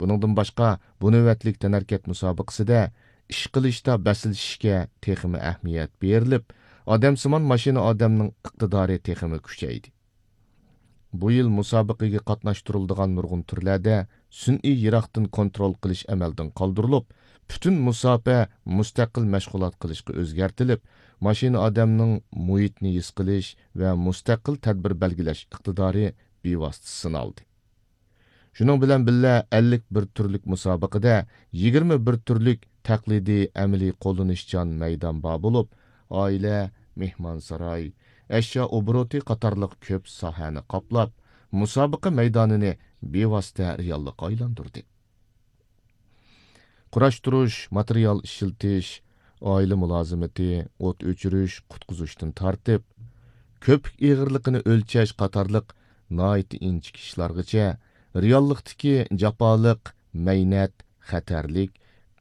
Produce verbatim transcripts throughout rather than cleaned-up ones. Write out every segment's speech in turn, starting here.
بۇنىڭدىن باشقا، بۇ نۆۋەتلىك تەنھەرىكەت مۇسابىقىسىدە ئىش قىلىشتا بەسلىشىشكە تېخىمۇ ئەھمىيەت بېرىلىپ، ئادەمسىمان ماشىنا ئادەمنىڭ ئىقتىدارى تېخىمۇ كۈچەيدى. بۇ يىل مۇسابىقىگە قاتناشتۇرۇلىدىغان نۇرغۇن تۈرلەردە سۈنئىي يىراقتىن كونترول قىلىش ئەمەلدىن قالدۇرۇلۇپ، پۈتۈن مۇساپە مۇستەقىل مەشغۇلات قىلىشقا ئۆزگەرتىلىپ، ماشىنا ئادەمنىڭ مۇھىتنى ھېس قىلىش ۋە مۇستەقىل تەدبىر بەلگىلەش ئىقتىدارى بىۋاسىتە سىنالدى. شۇنىڭ بىلەن بىللە، ئەللىك بىر تۈرلۈك مۇسابىقىدە يىگىرمە بىر تۈرلۈك تەقلىدىي ئەمەلىي قوللىنىشچان مەيدان بار بولۇپ، ئائىلە، مېھمانساراي، ئەشيا ئوبوروتى قاتارلىق كۆپ ساھەنى قاپلاپ، مۇسابىقە مەيدانىنى بىۋاسىتە رېئاللىققا ئايلاندۇردى. قۇراشتۇرۇش، ماتېرىيال ئىشلىتىش، ئائىلە مۇلازىمىتى، ئوت ئۆچۈرۈش، قۇتقۇزۇشتىن تارتىپ، كۆپۈك ئېغىرلىقىنى ئۆلچەش قاتارلىق ناھايىتى ئىنچىكە ئىشلارغىچە، رېئاللىقتىكى جاپالىق، مەينەت، خەتەرلىك،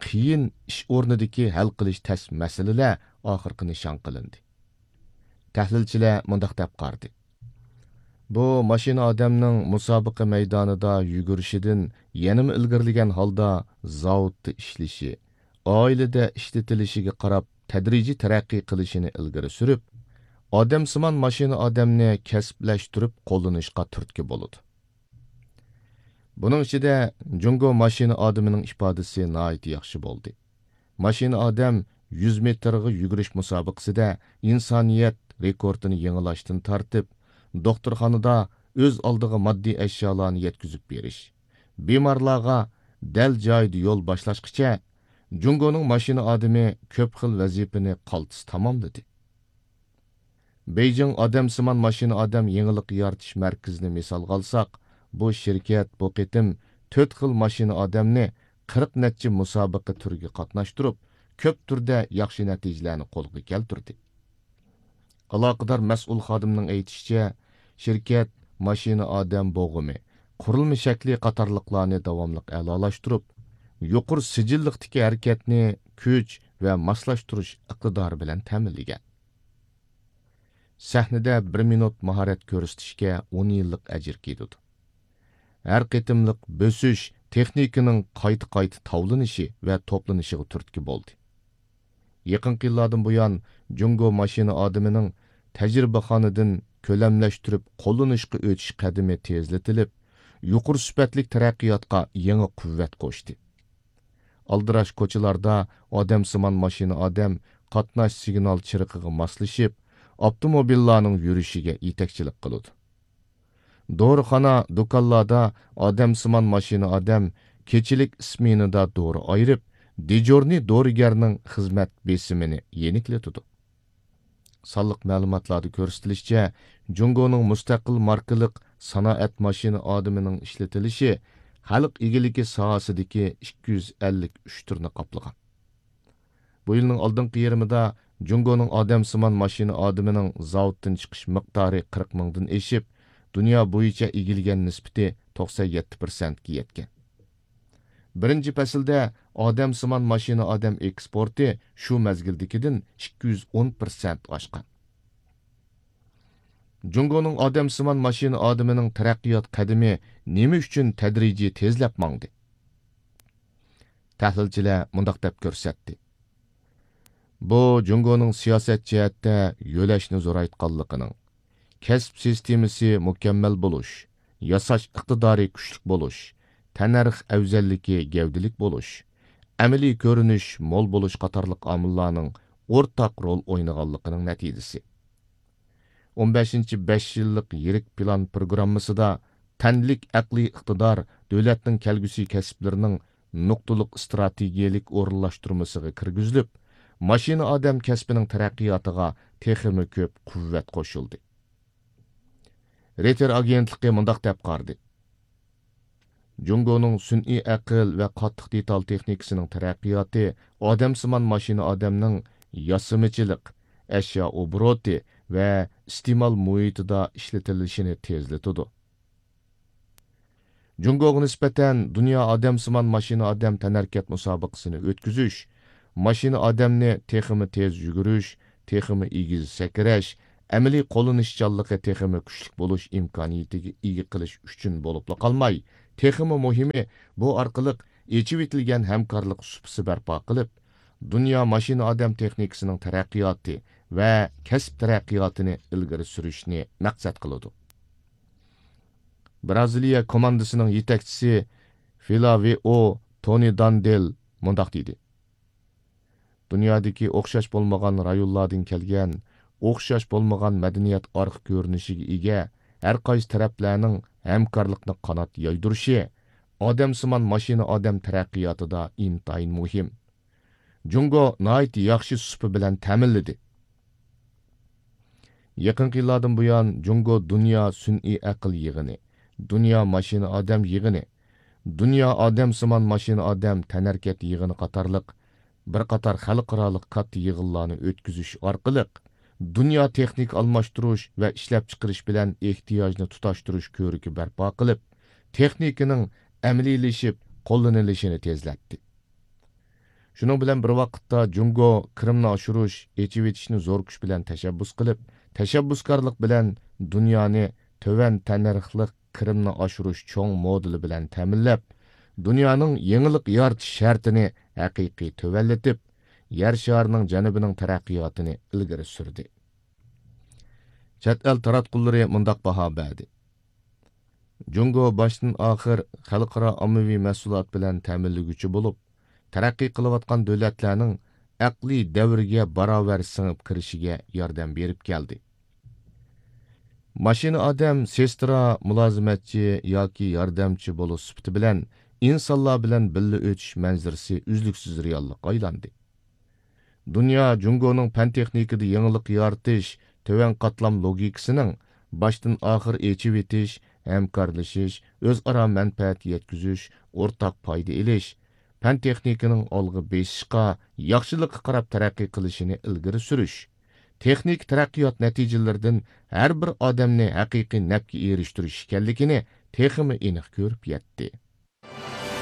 قىيىن ئىش ئورنىدىكى ھەل قىلىش تەس مەسىلىلەر ئاخىرقى نىشان قىلىندى. تەھلىلچىلەر مۇنداق دەپ قارىدى: بۇ ماشىنا ئادەمنىڭ مۇسابىقە مەيدانىدا يۈگۈرۈشىدىن يەنىمۇ ئىلگىرىلىگەن ھالدا زاۋۇتتا ئىشلىشى، ئائىلىدە ئىشلىتىلىشىگە قاراپ تەدرىجىي تەرەققىي قىلىشىنى ئىلگىرى سۈرۈپ، ئادەمسىمان ماشىنا ئادەمنى كەسىپلەشتۈرۈپ قوللىنىشقا تۈرتكە بولىدۇ. بۇنىڭ ئىچىدە جۇڭگو ماشىنا ئادىمىنىڭ ئىپادىسى ناھايىتى ياخشى بولدى. ماشىنا ئادەم يۈز مېتىرغا يۈگۈرۈش مۇسابىقىسىدە ئىنسانىيەت رېكورتىنى يېڭىلاشتىن تارتىپ، دوختۇرخانىدا ئۆز ئالدىغا ماددىي ئەشيالارنى يەتكۈزۈپ بېرىش، بىمارلارغا دەل جايىدا يول باشلاشقىچە، جۇڭگونىڭ ماشىنا ئادىمى كۆپ خىل ۋەزىپىنى قالتىس تاماملىدى. بېيجىڭ ئادەمسىمان ماشىنا ئادەم يېڭىلىق يارىتىش مەركىزىنى مىسالغا ئالساق، بۇ شىركەت بۇ قېتىم تۆت خىل ماشىنا ئادەمنى قىرىق نەچچە مۇسابىقە تۈرىگە قاتناشتۇرۇپ، كۆپ تۈردە ياخشى نەتىجىلەرنى قولغا كەلتۈردى. ئالاقىدار مەسئۇل خادىمنىڭ ئېيتىشىچە، شىركەت ماشىنا ئادەم بوغۇمى، قۇرۇلما شەكلى قاتارلىقلارنى داۋاملىق ئەلالاشتۇرۇپ، يۇقىرى سىجىللىقتىكى ھەرىكەتنى كۈچ ۋە ماسلاشتۇرۇش ئىقتىدارى بىلەن تەمىنلىگەن. سەھنىدە بىر مىنۇت ماھارەت كۆرسىتىشكە ئون يىللىق ئەجىر كېتىدۇ. ھەر قېتىملىق بۆسۈش تېخنىكىنىڭ قايتا-قايتا تاۋلىنىشى ۋە توپلىنىشىغا تۈرتكە بولدى. يېقىنقى يىللاردىن بۇيان، جۇڭگو ماشىنا ئادىمىنىڭ تەجرىبىخانىدىن كۆلەملەشتۈرۈپ قوللىنىشقا ئۆتۈش قەدىمى تېزلىتىلىپ، يۇقىرى سۈپەتلىك تەرەققىياتقا يېڭى قۇۋۋەت قوشتى. ئالدىراش كوچىلاردا ئادەمسىمان ماشىنا ئادەم قاتناش سىگنال چىرىقىغا ماسلىشىپ، ئاپتوموبىللارنىڭ يۈرۈشىگە يېتەكچىلىك قىلىدۇ. دورىخانا، دۇكانلاردا ئادەمسىمان ماشىنا ئادەم كېچىلىك ئىسمېنىدا دورا ئايرىپ، دېجورنىي دورىگەرنىڭ خىزمەت بېسىمىنى يېنىكلىتىدۇ. سانلىق مەلۇماتلاردا كۆرسىتىلىشىچە، جۇڭگونىڭ مۇستەقىل ماركىلىق سانائەت ماشىنا ئادىمىنىڭ ئىشلىتىلىشى خەلق ئىگىلىكى ساھەسىدىكى ئىككى يۈز ئەللىك ئۈچ تۈرنى قاپلىغان. بۇ يىلنىڭ ئالدىنقى يېرىمىدا جۇڭگونىڭ ئادەمسىمان ماشىنا ئادىمىنىڭ زاۋۇتتىن چىقىش مىقدارى قىرىق مىڭدىن ئېشىپ، دۇنيا بويىچە ئىگىلىگەن نىسبىتى توقسەن يەتتە پىرسەنتكە يەتكەن. بىرىنچى پەسىلدە ئادەمسىمان ماشىنا ئادەم ئېكسپورتى شۇ مەزگىلدىكىدىن ئىككى يۈز ئون پىرسەنت ئاشقان. جۇڭگونىڭ ئادەمسىمان ماشىنا ئادىمىنىڭ تەرەققىيات قەدىمى نېمە ئۈچۈن تەدرىجىي تېزلەپ ماڭدى؟ تەھلىلچىلەر مۇنداق دەپ كۆرسەتتى: بۇ جۇڭگونىڭ سىياسەت جەھەتتە يۆلەشنى زورايتقانلىقىنىڭ، كەسىپ سىستېمىسى مۇكەممەل بولۇش، ياساش ئىقتىدارى كۈچلۈك بولۇش، تەننەرخ ئەۋزەللىكى گەۋدىلىك بولۇش، ئەمەلىي كۆرۈنۈش مول بولۇش قاتارلىق ئامىللارنىڭ ئورتاق رول ئوينىغانلىقىنىڭ نەتىجىسى. ئون بەشىنچى بەش يىللىق يىرىك پىلان پروگراممىسىدا تەنلىك ئەقلىي ئىقتىدار دۆلەتنىڭ كەلگۈسى كەسىپلىرىنىڭ نۇقتىلىق ئىستراتېگىيەلىك ئورۇنلاشتۇرمىسىغا كىرگۈزۈلۈپ، ماشىنا ئادەم كەسپىنىڭ تەرەققىياتىغا تېخىمۇ كۆپ قۇۋۋەت قوشۇلدى. رېيتېر ئاگېنتلىقى مۇنداق دەپ قارىدى: جۇڭگونىڭ سۈنئىي ئەقىل ۋە قاتتىق دېتال تېخنىكىسىنىڭ تەرەققىياتى ئادەمسىمان ماشىنا ئادەمنىڭ ياسىمىچىلىق، ئەشيا ئوبوروتى ۋە ئىستېمال مۇھىتىدا ئىشلىتىلىشىنى تېزلىتىدۇ. جۇڭگوغا نىسبەتەن دۇنيا ئادەمسىمان ماشىنا ئادەم تەنھەرىكەت مۇسابىقىسىنى ئۆتكۈزۈش، ماشىنا ئادەمنى تېخىمۇ تېز يۈگۈرۈش، تېخىمۇ ئېگىز سەكرەش، ئەمەلىي قوللىنىشچانلىقى تېخىمۇ كۈچلۈك بولۇش ئىمكانىيىتىگە ئىگە قىلىش ئۈچۈن بولۇپلا قالماي، تېخىمۇ مۇھىمى، بۇ ئارقىلىق ئېچىۋېتىلگەن ھەمكارلىق سۇپىسى بەرپا قىلىپ، دۇنيا ماشىنا ئادەم تېخنىكىسىنىڭ تەرەققىياتى ۋە كەسىپ تەرەققىياتىنى ئىلگىرى سۈرۈشنى مەقسەت قىلىدۇ. بىرازىلىيە كوماندىسىنىڭ يېتەكچىسى فىلاۋىئو تونى داندېل مۇنداق دېدى: دۇنيادىكى ئوخشاش بولمىغان رايونلاردىن كەلگەن، ئوخشاش بولمىغان مەدەنىيەت ئارقا كۆرۈنۈشىگە ئىگە ھەر قايسى تەرەپلەرنىڭ ھەمكارلىقنى قانات يايدۇرۇشى ئادەمسىمان ماشىنا ئادەم تەرەققىياتىدا ئىنتايىن مۇھىم. جۇڭگو ناھايىتى ياخشى سۇپا بىلەن تەمىنلىدى. يېقىنقى يىللاردىن بۇيان، جۇڭگو دۇنيا سۈنئىي ئەقىل يىغىنى، دۇنيا ماشىنا ئادەم يىغىنى، دۇنيا ئادەمسىمان ماشىنا ئادەم تەنھەرىكەت يىغىنى قاتارلىق بىر قاتار خەلقئارالىق كاتتا يىغىنلارنى ئۆتكۈزۈش ئارقىلىق، دۇنيا تېخنىكا ئالماشتۇرۇش ۋە ئىشلەپچىقىرىش بىلەن ئېھتىياجنى تۇتاشتۇرۇش كۆرۈكى بەرپا قىلىپ، تېخنىكىنىڭ ئەمەلىيلىشىپ قوللىنىلىشىنى تېزلەتتى. شۇنىڭ بىلەن بىر ۋاقىتتا، جۇڭگو كىرىمنى ئاشۇرۇش، ئېچىۋېتىشنى زور كۈچ بىلەن تەشەببۇس قىلىپ، تەشەببۇسكارلىق بىلەن دۇنيانى تۆۋەن تەننەرخلىق كىرىمنى ئاشۇرۇش چوڭ مودېلى بىلەن تەمىنلەپ، دۇنيانىڭ يېڭىلىق يارىتىش شەرتىنى ھەقىقىي تۆۋەنلىتىپ، يەر شارىنىڭ جەنۇبىنىڭ تەرەققىياتىنى ئىلگىرى سۈردى. چەت ئەل تاراتقۇلىرى مۇنداق باھا بەردى: جۇڭگو باشتىن ئاخىر خەلقئارا ئاممىۋى مەھسۇلات بىلەن تەمىنلىگۈچى بولۇپ، تەرەققىي قىلىۋاتقان دۆلەتلەرنىڭ ئەقلىي دەۋرگە باراۋەر سىڭىپ كىرىشىگە ياردەم بېرىپ كەلدى. ماشىنا ئادەم سېسترا، مۇلازىمەتچى ياكى ياردەمچى بولۇش سۈپىتى بىلەن ئىنسانلار بىلەن بىللە ئۆتۈش مەنزىرىسى ئۈزلۈكسىز رېئاللىققا ئايلاندى. دۇنيا جۇڭگونىڭ پەن-تېخنىكىدا يېڭىلىق يارىتىش، تۆۋەن قاتلام لوگىكىسىنىڭ باشتىن ئاخىر ئېچىۋېتىش، ھەمكارلىشىش، ئۆزئارا مەنپەئەت يەتكۈزۈش، ئورتاق پايدا ئېلىش، پەن-تېخنىكىنىڭ ئالغا بېسىشقا، ياخشىلىققا قاراپ تەرەققىي قىلىشىنى ئىلگىرى سۈرۈش، تېخنىكا تەرەققىيات نەتىجىلىرىدىن ھەر بىر ئادەمنى ھەقىقىي نەپكە ئېرىشتۈرۈش ئىكەنلىكىنى تېخىمۇ ئېنىق كۆرۈپ يەتتى.